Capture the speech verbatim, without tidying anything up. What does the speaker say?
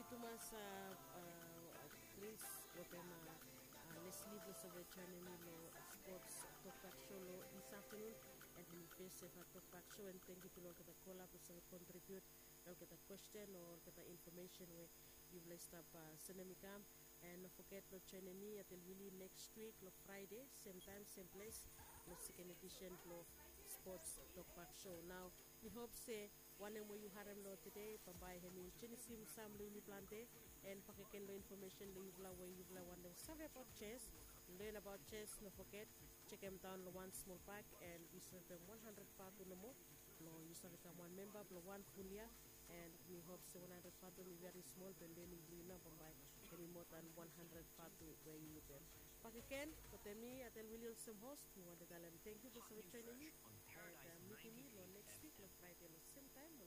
Tumas, a, a, Prince wetem, a, a, Leslie blong save joinim mi long Sports Tokbak Show long this afternoon. And hemi fes eva Tokbak Show, and thank you tu long olgeta kola blong save contribute long olgeta question o olgeta information we yufala i stap, a, sendem i kam. And no foget long joinim mi Atelwili next week long Friday, same time, same place, long second edition blong Sports Tokbak Show. Nao mi hop se wanem we yu harem long tede bambae hemi jenisim sam long yumi plante. And bakegen long information long yufala we yufala wantem save abaot chess, learn abaot chess, no foget jekem daon long wan smol bak, and yu save pem wan handred vatu nomo blong yu save kam wan memba blong wan ful yia. And mi hop se wan handred vatu hemi veri smol, be learning blong yu nao bambae hemi moa dan wan handred vatu we yu pem. Bakegen wetem mi Atelwili olsem host, mi wantem talem thank you blong save joinim mi. And, a, mitim mi long next week long Friday long same time.